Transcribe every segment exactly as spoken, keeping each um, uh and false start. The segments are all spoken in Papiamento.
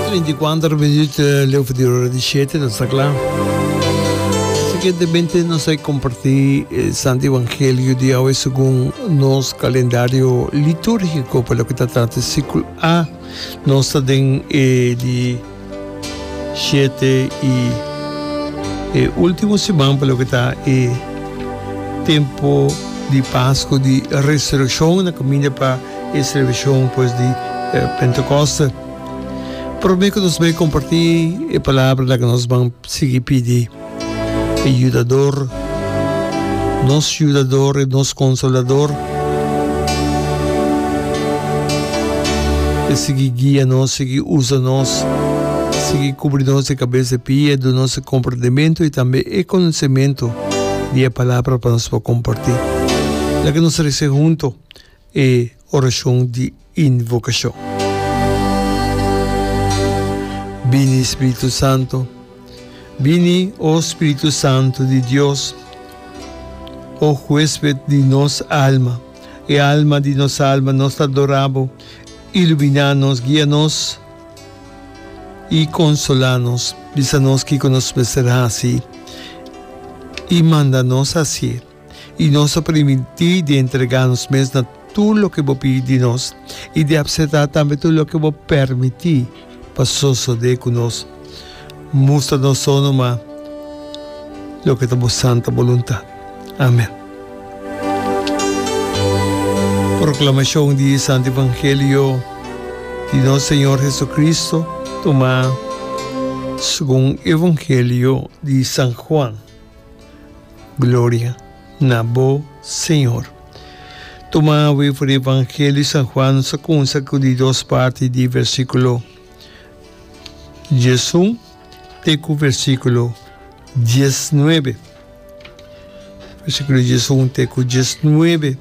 Trinta i kuater minuut leu for di ora di shete, nos ta kla. Siguientemente nos a kompartí e Santo Evangelio di awe segun nos kalendario litúrgiko pa loke ta trata siklo A. Nos ta den e di shete i e último siman pa loke ta e tempo di Pasku di Resurekshon na kaminda pa e selebrashon pues di Pentekoste. Promé ku nos bai kompartí e palabra laga nos ban sigui pidi e Yudador, nos Yudador i nos Konsolador, e sigui guia nos, sigui usa nos, sigui kubri nos di kabes di pia, duna nos e komprendementu i tambe e konosementu di e palabra pa nos por kompartí. Laga nos resa hunto e orashon di invokashon. Bini, Spiritu Santo. Bini, o Spiritu Santo di Dios, o huesped di nos alma, e alma di nos alma, nos ta adorá bo. Iluminá nos, guia nos i konsolá nos. Bisa nos kiko nos mester hasi i manda nos hasié. I nos a primintí di entregá nos mes na tur loke bo pidi di nos i di apseptá tambe tur loke bo permití pa sosodé ku nos. Mustra nos so numa loke ta bo santa boluntat. Amen. Proklamashon di e Santu Evangelio di nos Señor Jesucristo tumá segun Evangelio di San Juan. Gloria na bo, Señor. Tuma awe for di Evangelio di San Juan nos a cunsa cu di dos parti di versiculo diesun te cu versiculo diesnuebe. Versiculo diesun te cu diesnuebe.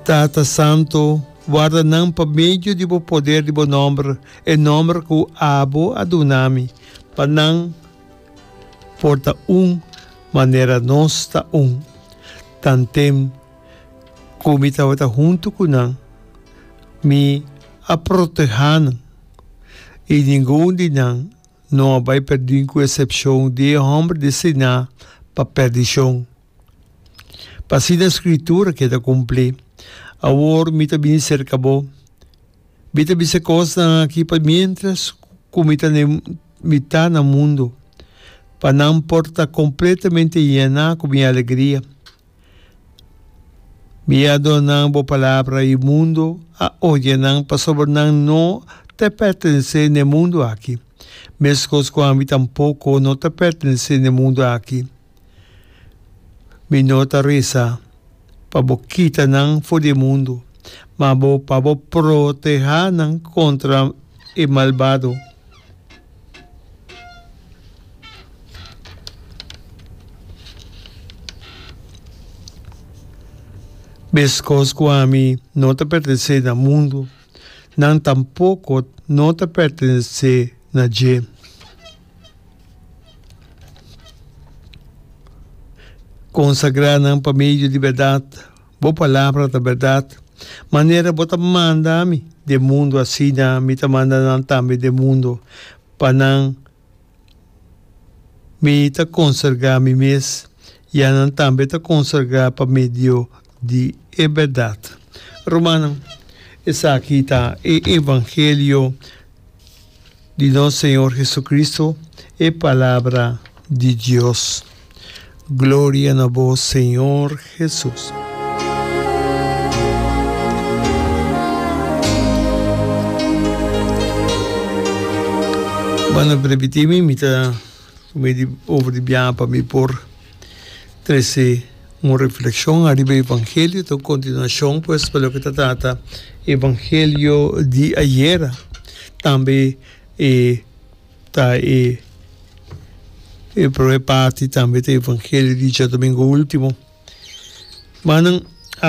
Tata Santo, warda nan pa medio di bo poder di bo nomber, e nomber cu abo a duna mi, pa nan por ta un manera nos ta un. Tantem ku mi tabata huntu ku nan, mi a protehá nan, i ningun di nan no a bai pèrdí ku esepshon di e hòmber destiná pa pèrdishon. Pa asina e Skritura keda kumplí, Awor mi ta bini serka bo. Mi ta bisa e kosnan aki pa miéntras ku mi ta mi ta na mundu, pa nan por ta kompletamente yená ku mi alegria. Mi a duna nan bo palabra i mundu a odia nan pasobra nan no ta pertenesé na e mundu aki, meskos ku ami tampoko no ta pertenesé na e mundu aki. Mi no ta resa pa bo kita nan for di e mundu, ma bo pa bo protehá nan kontra e malbado. Meskos ku ami no ta pertenesé na mundu, nan tampoko no ta pertenesé na dje. Konsagrá nan pa medio di bèrdat, bo palabra ta bèrdat. Manera bo ta manda mi den mundu, asina mi ta manda nan tambe den mundu. Pa nan mi ta konsagrá mi mes, ya nan tambe ta konsagrá pa medio di e bèrdat. Rumannan, esaki ta e evangelio. Di nos Señor Jesucristo, e Palabra di Dios. Gloria na bo, Señor Jesus. Bueno, permití mi, mi ta tuma di over di biaha pa mi por trese un reflexion ariba Evangelio, ta un continuacion pues pa loke ta trata Evangelio di ayera. Tambe e ta e e prome parti tambe ta Evangelio di djadomingo ultimo. Manan